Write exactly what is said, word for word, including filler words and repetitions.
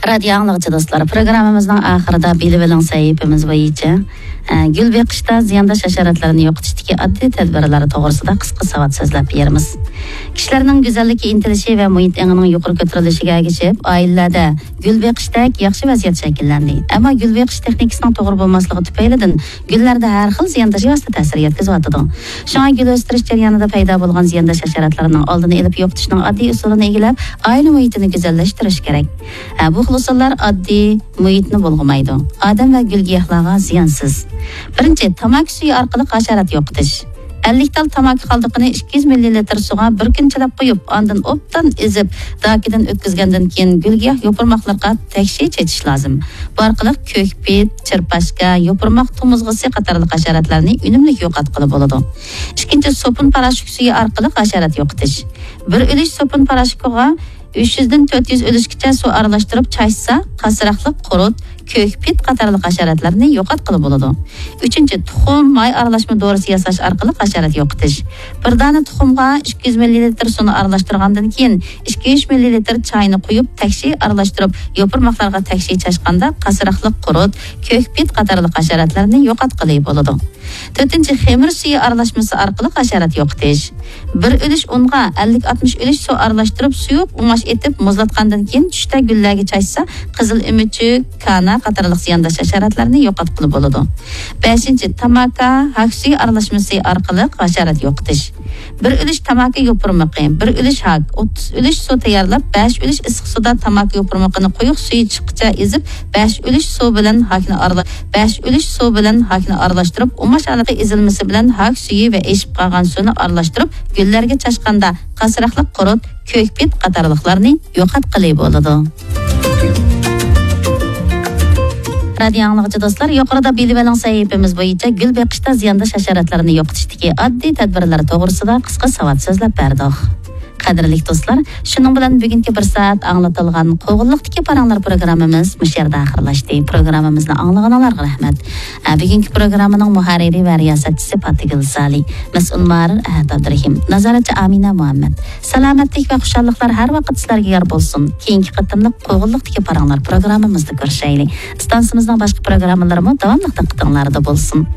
رادىيو ئاڭلىغۇچى دوستلار، پروگراممىمىزنىڭ ئاخىرىدا بىلىۋېلىڭ سەھىپىمىز بويىچە، ئە، گۈل بېقىشتا زىيانداش ھاشاراتلارنى يوقىتىشتىكى ئاددىي تەدبىرلەر توغرىسىدا قىسقا ساۋات سۆزلەپ بېرىمىز. كىشىلەرنىڭ گۈزەللىككە ئىنتىلىشى ۋە مۇھىت ئېڭىنىڭ يۇقىرى كۆتۈرۈلۈشىگە ئەگىشىپ، ئائىلىلەردە گۈل بېقىشتەك ياخشى ۋەزىيەت شەكىللەندى. ئەمما گۈل بېقىش تېخنىكىسىنىڭ توغرا بولماسلىقى تۈپەيلىدىن گۈللەردە ھەر خىل زىيانداش بىۋاسىتە تەسىر يەتكۈزۈۋاتىدۇ. شۇڭا گۈل ئۆستۈرۈش جەريانىدا پەيدا بولغان زىيانداش ھاشاراتلارنىڭ ئالدىنى ئېلىپ يوقىتىشنىڭ ئاددىي ئۇسۇلىنى ئىگىلەپ، ئائىلە مۇھىتىنى گۈزەللەشتۈرۈش كېرەك. ھە، بۇ خىل ئۇسۇللار ئاددىي مۇھىتنى بۇلغىمايدۇ. ئادەم ۋە گۈل-گىياھلارغا زىيانسىز. بىرىنچى، تاماكا سۈيى ئارقىلىق ھاشارات يوقىتىش. ئەللىك تال تاماكا قالدۇقىنى ئىككى يۈز مىللىلىتىر سۇغا بىر كۈن چىلاپ قويۇپ، ئاندىن ئوبدان ئېزىپ، داكىدىن ئۆتكۈزگەندىن كېيىن گۈل-گىياھ يوپۇرماقلىرىغا تەكشى چېچىش لازىم. بۇ ئارقىلىق كۆكپىت، چىرپاشكا، يوپۇرماق تومۇزغىسى قاتارلىق ھاشاراتلارنى ئۈنۈملۈك يوقاتقىلى بولىدۇ. ئىككىنچى، سوپۇن پاراشوك سۈيى ئارقىلىق ھاشارات يوقىتىش. بىر ئۈلۈش سوپۇن پاراشوكىغا ئۈچ يۈزدىن تۆت يۈز ئۈلۈشكىچە سۇ ئارىلاشتۇرۇپ چاچسا، قاسراقلىق، قۇرت، كۆكپىت قاتارلىق ھاشاراتلارنى يوقاتقىلى بولىدۇ. ئۈچىنچى، تۇخۇم، ماي ئارىلاشما دورىسى ياساش ئارقىلىق ھاشارات يوقىتىش. بىر دانە تۇخۇمغا ئىككى يۈز مىللىلىتىر سۇنى ئارىلاشتۇرغاندىن كېيىن، ئىككى يۈز مىللىلىتىر چاينى قۇيۇپ، تەكشى ئارىلاشتۇرۇپ، يوپۇرماقلارغا تەكشى چاچقاندا، قاسراقلىق، قۇرت، كۆكپىت قاتارلىق ھاشاراتلارنى يوقاتقىلى بولىدۇ. تۆتىنچى، خېمىر سۈيى ئارىلاشمىسى ئارقىلىق ھاشارات يوقىتىش. بىر ئۈلۈش ئۇنغا ئەللىك ئاتمىش ئۈلۈش سۇ ئارىلاشتۇرۇپ، سۇيۇق ئۇماش ئېتىپ، مۇزلاتقاندىن كېيىن چۈشتە گۈللەرگە چاچسا، قىزىل ئۆمۈچۈك، كانا قاتارلىق زىيانداش ھاشاراتلارنى يوقاتقىلى بولىدۇ. بەشىنچى، تاماكا، ھاك سۈيى ئارىلاشمىسى ئارقىلىق ھاشارات يوقىتىش. بىر ئۈلۈش تاماكا يوپۇرمىقى، بىر ئۈلۈش ھاك، ئوتتۇز ئۈلۈش سۇ تەييارلاپ، بەش ئۈلۈش ئىسسىق سۇدا تاماكا يوپۇرمىقىنى قويۇق سۈيى چىققىچە ئېزىپ، بەش ئۈلۈش سۇ بىلەن ھاكنى ئارىلا-، بەش ئۈلۈش سۇ بىلەن ھاكنى ئارىلاشتۇرۇپ، ئۇماش ھالىتى ئېزىلمىسى بىلەن ھاك سۈيى ۋە ئېشىپ قالغان سۇنى ئارىلاشتۇرۇپ، گۈللەرگە چاچقاندا، قاسراقلىق، قۇرت، كۆكپىت قاتارلىقلارنى يوقاتقىلى بولىدۇ. رادىيو ئاڭلىغۇچى دوستلار، يۇقىرىدا بىلىۋېلىڭ سەھىپىمىز بويىچە گۈل بېقىشتا زىيانداش ھاشاراتلارنى يوقىتىشتىكى ئاددىي تەدبىرلەر توغرىسىدا قىسقا ساۋات سۆزلەپ بەردۇق. قەدىرلىك دوستلار، شۇنىڭ بىلەن بۈگۈنكى بىر سائەت ئاڭلىتىلغان قوغۇنلۇقتىكى پاراڭلار پروگراممىمىز مۇشۇ يەردە ئاخىرلاشتى. پروگراممىمىزنى ئاڭلىغىنىڭلارغا رەھمەت. ھە، بۈگۈنكى پروگراممىنىڭ مۇھەررىرى ۋە رىياسەتچىسى پاتىگۈل سالى، مەسئۇل مۇھەررىر ئەھەت ئابدۇرېھىم، نازارەتچى ئامىنە مۇھەممەد. سالامەتلىك ۋە خۇشاللىقلار ھەر ۋاقىت سىلەرگە يار بولسۇن. كېيىنكى قېتىملىق قوغۇنلۇقتىكى پاراڭلار پروگراممىمىزدا كۆرۈشەيلى. ئىستانسىمىزنىڭ باشقا پروگراممىلىرىمۇ داۋاملىق دىققىتىڭلاردا بولسۇن.